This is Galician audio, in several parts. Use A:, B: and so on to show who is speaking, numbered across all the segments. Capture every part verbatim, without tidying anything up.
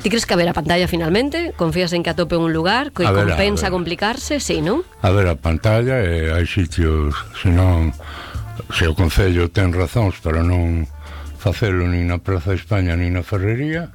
A: Ti crees que haberá pantalla finalmente? Confías en que atope un lugar que
B: ver,
A: compensa complicarse? Sí, non?
B: A ver, a pantalla, eh, hai sitios, senón, se o Concello ten razóns para non facelo nin na Praza de España nin na Ferrería,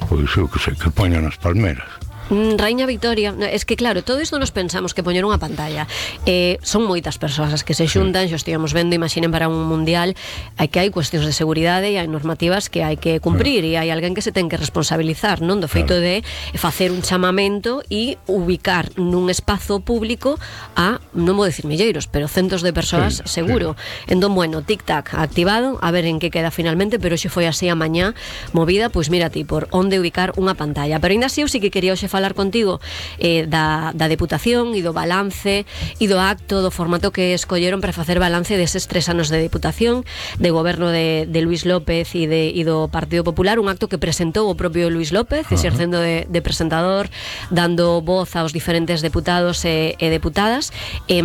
B: pois eu que sei, que poñan as palmeras.
A: Mm, Raíña Victoria, es que claro, todo isto nos pensamos que poñer unha pantalla, eh, son moitas persoas as que se xuntan, sí. Xo estivemos vendo, imaginen para un mundial, hai que hai cuestións de seguridade e hai normativas que hai que cumprir, sí. E hai alguén que se ten que responsabilizar, non, do feito, claro, de facer un chamamento e ubicar nun espazo público a, non vou dicir milleiros, pero centos de persoas, sí, seguro, sí. Entón, bueno, tic-tac activado, a ver en que queda finalmente, pero xe foi así a mañá movida, pois mira ti, por onde ubicar unha pantalla. Pero ainda así eu sí que quería hoxe falar contigo eh, da, da Deputación e do balance e do acto, do formato que escolleron para facer balance deses tres anos de Deputación, de goberno de, de Luís López e, de, e do Partido Popular, un acto que presentou o propio Luís López, uh-huh. exercendo de, de presentador, dando voz aos diferentes deputados e, e deputadas. Eh,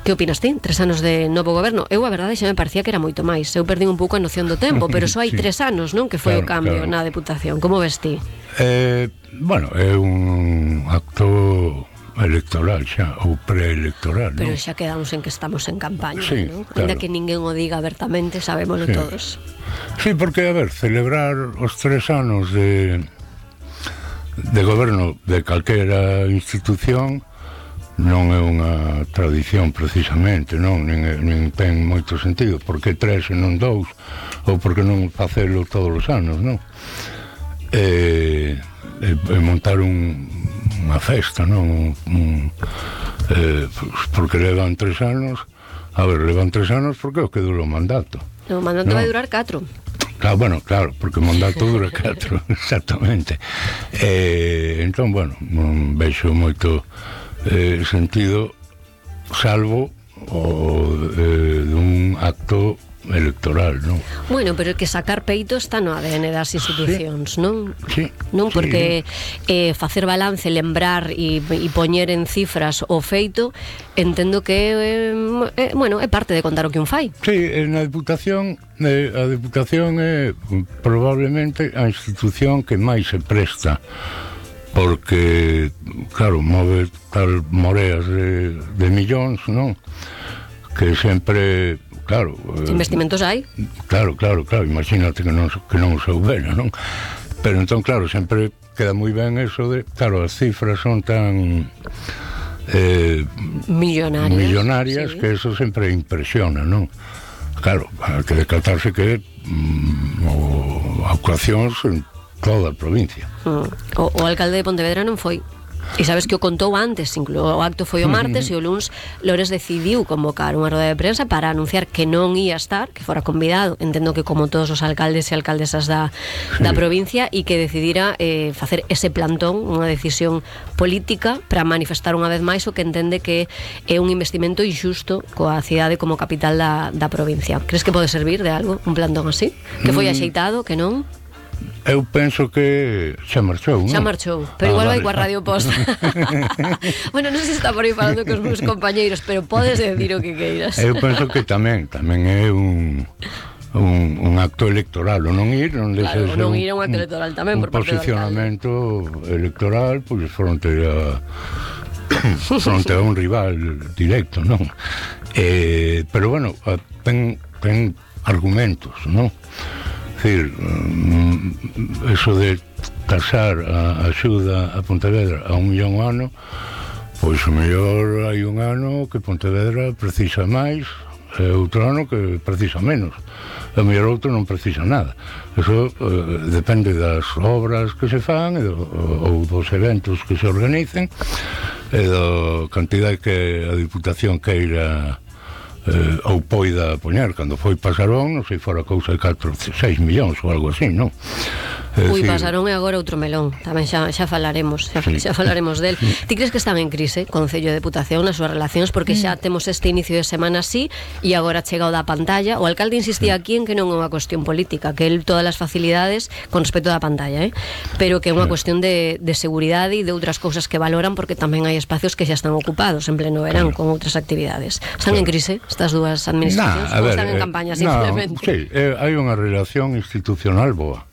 A: que opinas ti? Tres anos de novo goberno? Eu, a verdade, xa me parecía que era moito máis. Eu perdín un pouco a noción do tempo, pero só hai sí. tres anos, non? Que foi claro, o cambio claro. na Deputación. Como ves ti?
B: Eh... Bueno, é un acto electoral xa, ou preelectoral,
A: pero
B: non?
A: xa quedamos en que estamos en campaña,
B: sí,
A: non?
B: Claro.
A: Ainda que ninguén o diga abertamente, sabémoslo sí. todos.
B: Sí, porque, a ver, celebrar os tres anos de de goberno de calquera institución non é unha tradición precisamente, non? Nin, nin ten moito sentido. Por que tres e non dous? Ou por que non facelo todos os anos, non? Eh... E, e montar un, unha festa, non? Un, un, eh, porque levan tres anos. A ver, levan tres anos porque o que dura o mandato.
A: O mandato no? vai durar catro.
B: Claro, bueno, claro, porque o mandato dura catro, exactamente. Eh, entón, bueno, non vexo moito eh, sentido, salvo o eh, dun acto electoral, non?
A: Bueno, pero que sacar peito está no A D N das institucións, sí. non?
B: Sí.
A: Non, porque
B: sí.
A: eh, facer balance, lembrar e, e poñer en cifras o feito, entendo que eh, eh, bueno, é parte de contar o que un fai.
B: Sí, na Deputación eh, a Deputación é probablemente a institución que máis se presta, porque claro, move tal moreas de, de millóns, non? Que sempre claro,
A: investimentos hai?
B: Claro, claro, claro, imagínate que non, que non o soubera, non? Pero entón, claro, sempre queda moi ben eso de, claro, as cifras son tan eh,
A: millonarias,
B: millonarias
A: sí.
B: que eso sempre impresiona, non? Claro, hai que decatarse que mm, o, actuacións en toda a provincia.
A: Mm. O, o alcalde de Pontevedra non foi. E sabes que o contou antes, incluso o acto foi o martes e o luns Lores decidiu convocar unha roda de prensa para anunciar que non ia estar, que fora convidado, entendo que como todos os alcaldes e alcaldesas da, da provincia, e que decidira eh, facer ese plantón, unha decisión política para manifestar unha vez máis o que entende que é un investimento injusto coa cidade como capital da, da provincia. Crees que pode servir de algo un plantón así? Que foi axeitado, que non?
B: Eu penso que xa marchou, non?
A: Xa marchou, pero ah, igual vai vale. coa Radio Posta. Bueno, non sei se está por aí falando cos meus compañeiros, pero podes decir o que queiras.
B: Eu penso que tamén, tamén é un un, un acto electoral, o non ir, non
A: claro, non ir é un acto electoral tamén
B: un
A: por parte do
B: posicionamento electoral, pois pues, fronte a fronte a un rival directo, non? Eh, pero bueno, ten, ten argumentos, non? É dicir, eso de taxar a axuda a Pontevedra a un millón ao ano, pois o mellor hai un ano que Pontevedra precisa máis e outro ano que precisa menos, e o mellor outro non precisa nada. Eso eh, depende das obras que se fan e do, ou dos eventos que se organicen e da cantidade que a Diputación queira eh, ou poida poñer. Cando foi Pasarón, non sei, fora cousa de catro, seis millóns ou algo así, non?
A: Ui, Pasarón é agora outro melón. Tamén xa, xa falaremos xa, sí. xa falaremos del. Ti crees que están en crise Concello de Deputación nas súas relacións? Porque xa temos este inicio de semana así e agora chega o da pantalla. O alcalde insistía aquí en que non é unha cuestión política, que el todas as facilidades con respecto da pantalla, eh? Pero que é unha cuestión de, de seguridade e de outras cousas que valoran, porque tamén hai espacios que xa están ocupados en pleno verán con outras actividades. Están en crise estas dúas administracións?
B: Nah,
A: ou
B: ver,
A: están en
B: eh,
A: campaña
B: no,
A: simplemente?
B: Sí, eh, hai unha relación institucional boa.